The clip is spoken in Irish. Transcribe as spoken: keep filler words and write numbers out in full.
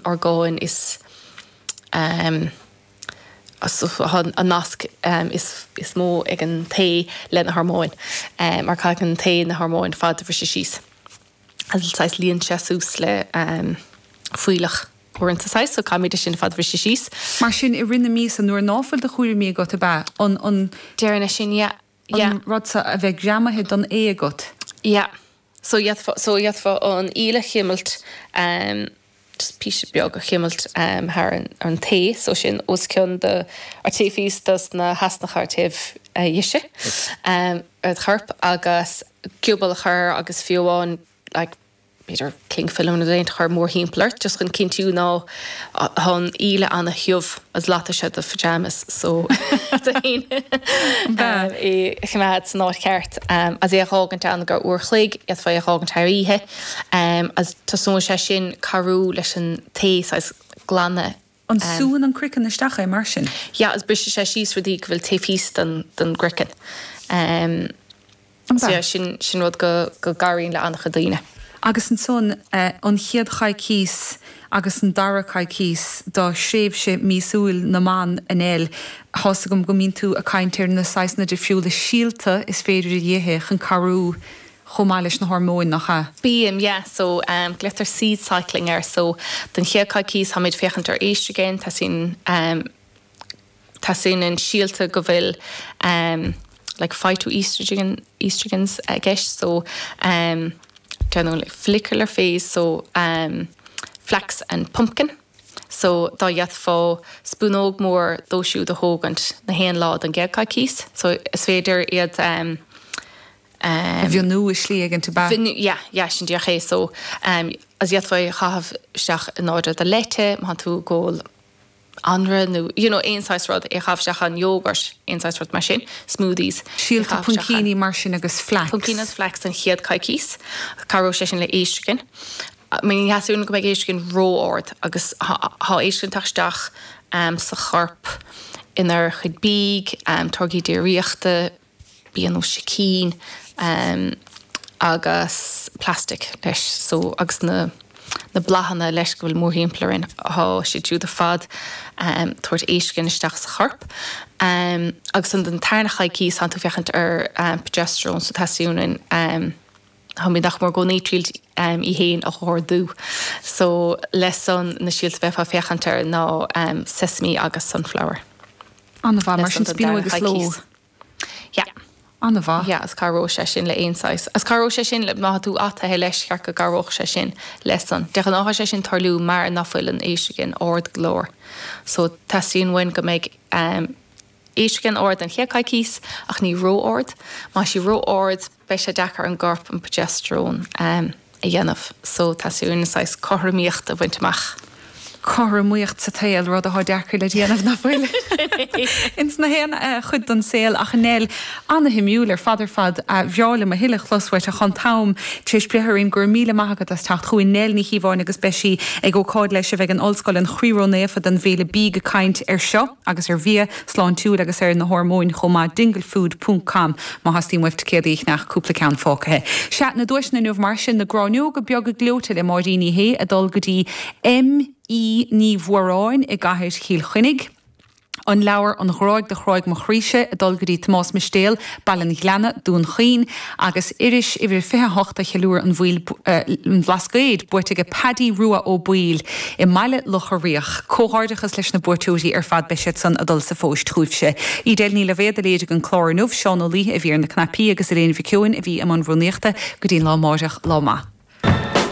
orgáin is um, an nasc um, is, is mó ag an tae le na hormóin um, mar caithfidh an tae na hormóin fad a bhriseadh síos. Agus saghas líon sé suas le um, fuílleach uaireanta saghas, so caithfimid sin fad bhriseadh síos. Mar sin i rith na míosa nuair ná fuil de chúraimí agat ab ea an an Deireanach sin yeah. Yeah. an rud seo a bheith greamaithe don ae agat. Yeah. So d'fhéadfá so d'fhéadfá an íle a chimilt um, just píosa beag a chimilt um, thar an, an tae, so sin os cionn de ar taobh thíos dos na heasnacha ar taobh uh, dheise um, ar chorp agus giobal a chur agus fiú amháin like, b'fhéidir cling film nó rud chur mórthimpeall ort, just chun cinntiú ná tá an íle an-tiubh as latfaidh sé do pyjamas so é choimeád san áit cheart um, as é a fhágaint ann go uair chloig d'fhéadfá é a fhágaint thar oíche um, as tosóidh sé sin cabhrú leis an tae saghas glanadh. An súann an craiceann isteach é mar sin? Ja, as briseann sé síos rudaí go bhfuil taobh thíos den den gcraiceann. Um, so yeah, sin sin rud go go gcabhraíonn le an-chuid daoine. Agus ansan an chéad choicís agus an dara coicís dá thréimhse míosúil na mban a Nell, tá's agam go mbíonn tú ag caint ar na saghsanna difriúla síolta is féidir a ithe chun cabhrú chomh maith leis na hormóin nach ea? Bím, yeah, so um, glaotar seed cycling air, so den chéad choicís táimid féachaint ar estrogen, teastaíonn um, teastaíonn an síolta go bhfuil um, like phytoestrogen estrogens i gceist, so um, déanamh like follicular phase, so um, flax and pumpkin. So dá d'fhéadfá spúnóg mór dó siúd a thógaint na haon lá den gcéad choicís, so is féidir iad um, um, mhionú i slí éigin ab ea? Yeah, yeah, sin díreach é so um, as d'fhéadfá é a chaitheamh isteach in áidir do leite, má tú ag ól anraith nó you know, aon saghas rud é chaitheamh isteach an yogurt, aon saghas rud mar sin, smoothies. Síolta puimcíní mar sin agus flax. Puimcíní agus flax an chéad choicís, cabhróidh sé sin le estrogen. Ní theastaíonn go mbeidh estrogen ró-ard agus tá estrogen ag teacht isteach um, sa chorp inár chuid bídh, um, táirgí déiríochta, bia nó sicín um, agus plastic leis so agus na na bláthanna leis go bhfuil mórthimpeall orainn tá siad siúd ar fad um, tabhairt estrogen isteach sa chorp. Um, agus an den tarna choicís tá tú féachaint ar um, progesterone so teastaíonn um, Tá nach mór go triail um, í héin a ardú. So leis an na síolta bheifeá féachaint air ná um, sesame agus sunflower. An-mhaith mar sin spíonóg agus ló. Yeah. An-mhaith. Yeah, is cabhróidh sé sin le aon saghas. As cabhróidh sé sin le má tú ataithe leis ceart go gcabhródh sé sin leis an. De ghnáth sé sin tarlú mar nach bhfuil an estrogen ard go leor. So teastaíonn uainn go mbeidh um, estrogen ard an chéad choicís ach ní ró-ard, Má sí ró-ard beidh sé deacair an gcorp an progesterone um, a dhéanamh, so teastaíonn saghas cothromaíocht a bhaint amach. Cothromaíocht sa tsaol rud atá deacair le déanamh nach bhfuil. Ins na haon chuid den saol ach Nell an-shuimiúil ar fad ar fad ba bhreá liom a thuilleadh a chlos uait ach an t-am tar éis breith orainn go raibh míle maith agat as teacht chugainn Nell Ní Chíobháin agus beidh sí ag ócáid leis a bheidh in Ollscoil an Chroí Ró-Naofa don bhFéile Bídh ag caint ar seo agus ar bhia sláintiúil agus ar na hormóin chomh maith dinglefood ponc com má theastaíonn uaibh ticéadaí a cheannach cúpla ceann fágtha. Sea na duaiseanna inniu mar sin na gráinneoga beaga gleoite le Máirín Ní Shé ag dul go dtí M. E. Ní Mhóráin i gCathair Chill Chainnigh. An leabhar An Ghráig do Chráigh Mo Chroíse ag dul go dtí Tomás Mistéil, Baile an Ghleanna, Dún Chaoin, agus iris uimhir fiche a hocht a cheiliúr an bhaoil an Bhlascaoid buaite ag Paddy Rua Ó Baoill i mBaile Locha Riach. Comhghairdeachas leis na buaiteoirí ar fad beidh siad san ag dul sa phost chugaibhse. Edel Ní Loibhéad a léirigh an clár inniu, Seán Ó Laoithe a bhí ar na cnaipí agus Elaine Mhic Eoin a bhí i mbun rúnaíochta go dtí an lá amáireach, lá maith.